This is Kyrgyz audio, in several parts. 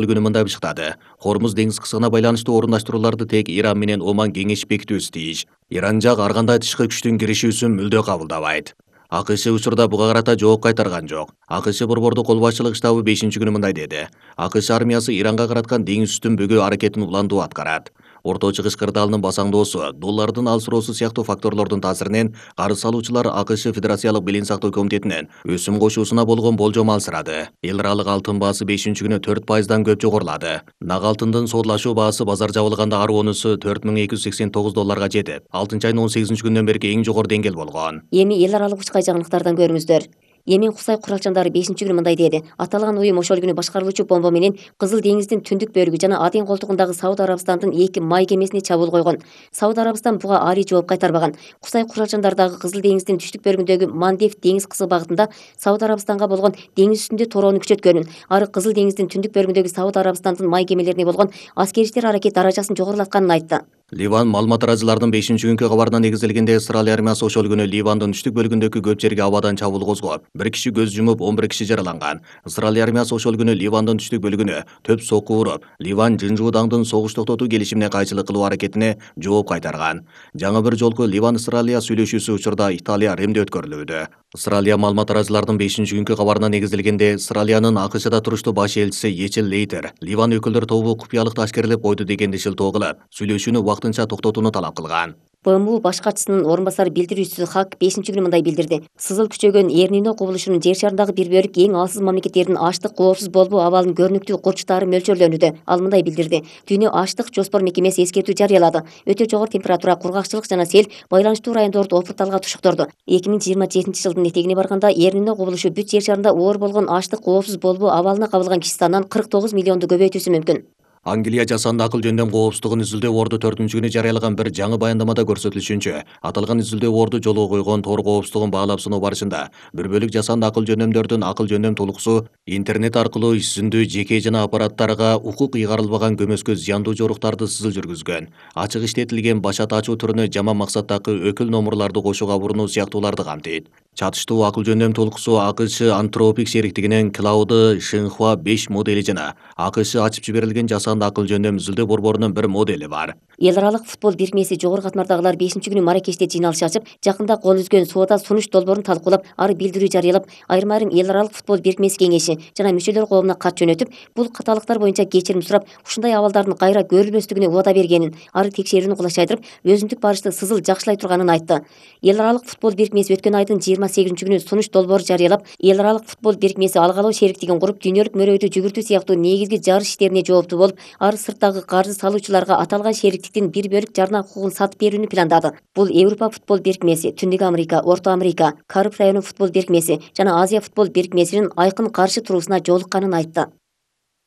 Күнү мындай бышыктады. Хормуз деңиз кысыгына байланыштуу орундаштырууларды тек Иран менен Оман кеңешип бекитүүсү тийиш. Иран жак ар кандай тышкы күчтүн киришүүсүн мүлдө кабылдабайт. АКШ учурда буга карата жооп кайтарган жок. АКШ борбордук кол башчылык штабы 5-күнү мындай деди. АКШ армиясы Иранга караткан деңиз үстүн бөгөө аракетин уландуу аткарат. Орто Чыгыш кырдаалынын басаңдоосу, доллардын алсыроосу сыяктуу факторлордун таасиринен карыз алуучулар АКШ Федерациялык билим сактоо комитетинен өсүм кошуусуна болгон болжом алсырады. Эл аралык алтын баасы 5-күнү 4%дан көп жогорулады. Нак алтындын соодлашуу баасы базар жабылганда ар онусу $4289 жетип, 6-айдын 18-күндөн берки эң жогору деңгээл болгон. Эми эл аралык учкай жаңылыктардан көрүңүздөр. Йемен Кусай куралчандары 5-күнү мындай деди. Аталган уюм ошол күнү башкарылуучу бомба менен Кызыл деңиздин түндүк бөлүгү жана Аден колтугундагы Сауд Арабстандын 2 май кемесине чабуул койгон. Сауд Арабстан буга али жооп кайтарбаган. Кусай куралчандары дагы Кызыл деңиздин түштүк бөлүгүндөгү Мандев деңиз кысыгы багытында Сауд Арабстанга болгон деңиз үстүндө torоону күчөткөнүн, ары Кызыл деңиздин түндүк бөлүгүндөгү Сауд Арабстандын май кемелерине болгон аскери аракет даражасын жогорулатканын айтты. Ливан маалымат тараачыларынын 5-күnkү кабарына негизделгенде Израиль армиясы ошол күнү Ливандын түштүк бөлүгүндөгү көп жерге абадан чабуул козгоп, 1 киши көз жумуп, 11 киши жараланган. Израиль армиясы ошол күнү Ливандын түштүк бөлүгүнө төп сокку уруп, Ливан Жынжуудаңдын согуш токтотуу келишимине кайчылык кылуу аракетине жооп кайтарган. Жаңы бир жолку Ливан-Израилия сүйлөшүүсү учурда Италия Римде өткөрүлүүдө. Израилия маалымат тараачыларынын 5-күnkү кабарына негизделгенде Израилиянын АКШда туруштуу баш элчиси Ечил Лейтер Ливан өкүлдөр тобу купуялыкты ашкерлеп койду дегенди шылтоо кылып, сүйлөшүүнү вактынча токтотууну талап кылган. БМУ баш катчысынын орун басары билдирүүчүсү Хак 5-күнү мындай билдирди. Сызыл күчөгөн Эрнино кубулушунун жер шарындагы бир бөлүк эң алсыз мамлекеттердин аштык коопсуз болбоо абалынын көрүнүктүү курчтары мөлчөрлөнүүдө. Ал мындай билдирди. Дүйнө аштык жоспор мекемеси эскертүү жарыялады. Өтө жогору температура, кургакчылык жана сел байланыштуу райондорду опурталга тушуктурду. 2027 жылдын этегине барганда Эрнино кубулушу бүт жер шарында оор болгон аштык коопсуз болбоо абалына кабылган киши санынан 49 миллионду көбөйтүүсү мүмкүн. Англия жасанды акыл жөндөм коопсуздугун изилдөө борду 4-күнү жарыялаган бир жаңы баяндамада көрсөтүлүшүнчө, аталган изилдөө борду жолго койгон тор коопсуздугун баалап сыноо барышында бир бөлүк жасанды акыл жөндөмдөрдүн акыл жөндөм тулуксу интернет аркылуу иш-жүзүндүү жеке жана аппараттарга укук ыйгарылбаган көмөскө зыяндуу жоруктарды сызыл жүргүзгөн, ачык иштетилген башат ачуу түрүнө жаман максаттагы өкүл номурларды кошууга бурунуу сыяктууларды камтыйт. Чатыштуу акыл жөндөм тулуксу АКШ Антропик шериктигинин Cloud Shinhua 5 модели жана АКШ ачып жиберилген жасанды акыл жөндөм изилдөө борборунун бир модели бар. Эл аралык футбол бирикмеси жогору катмардагылар 5-күнү Маракеште жыйналыш ачып, жакында кол үзгөн соода сунуш долбоорун талкуулап, ары билдирүү жарыялап, айрым эл аралык футбол бирикмеси кеңеши жана мүчөлөр коомуна кат жөнөтүп, бул каталыктар боюнча кечирим сурап, ушундай абалдардын кайра көрүлбөстүгүнө убада бергенин, ары текшерүүнү кулачайдырып, өзүндүк барышты сызыл жакшылай турганын айтты. Эл аралык футбол бирикмеси өткөн айдын 28-күнү сунуш долбоор жарыялап, эл аралык футбол бирикмеси алгалоо шериктигин куруп, дүйнөлүк мөрөйдү жүгүртүү сыяктуу негизги жарыш иштерине жооптуу болуп, ары сырттагы каржы салуучуларга аталган шериктиктин бир бөлүк жарна укугун сатып берүүнү пландады. Бул Европа футбол бирикмеси, Түндүк Америка, Орто Америка, Кариб району футбол бирикмеси жана Азия футбол бирикмесинин айкын каршы туруусуна жолукканын айтты.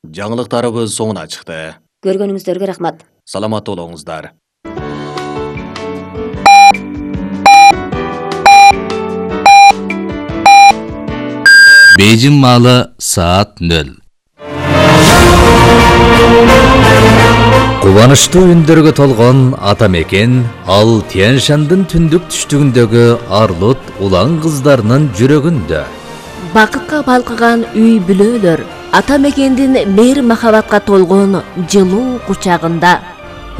Жаңылыктарыбыз соңуна чыкты. Көргөнүңүздөргө рахмат. Саламаттуу болуңуздар. Бейжин маалы саат 0. Кубанычтуу үндөргө толгон ата мекен ал Тянь-Шандын түндүк түштүгүндөгү арлут улан кыздарынын жүрөгүндө. Бакытка балкыган үй бүлөлөр ата мекендин мейир махабатка толгон жылуу кучагында.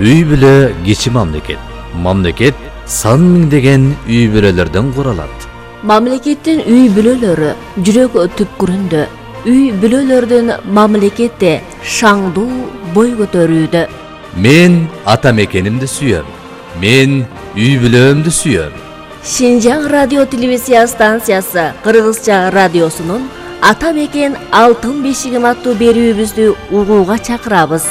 Үй бүлө кичи мамлекет. Мамлекет сан миңдеген үй бүлөлөрдөн куралат. Мамлекеттин үй бүлөлөрү жүрөк түпкүрүндө. Үй бүлөлөрдүн мамлекетте шаңдуу бой көтөрүүдө. Мен ата мекенимди сүйөм. Мен үй бүлөмдү сүйөм. Шинжаң радио телевизия станциясы Кыргызча радиосунун Ата мекен алтын бешигим аттуу берүүбүздү угууга чакырабыз.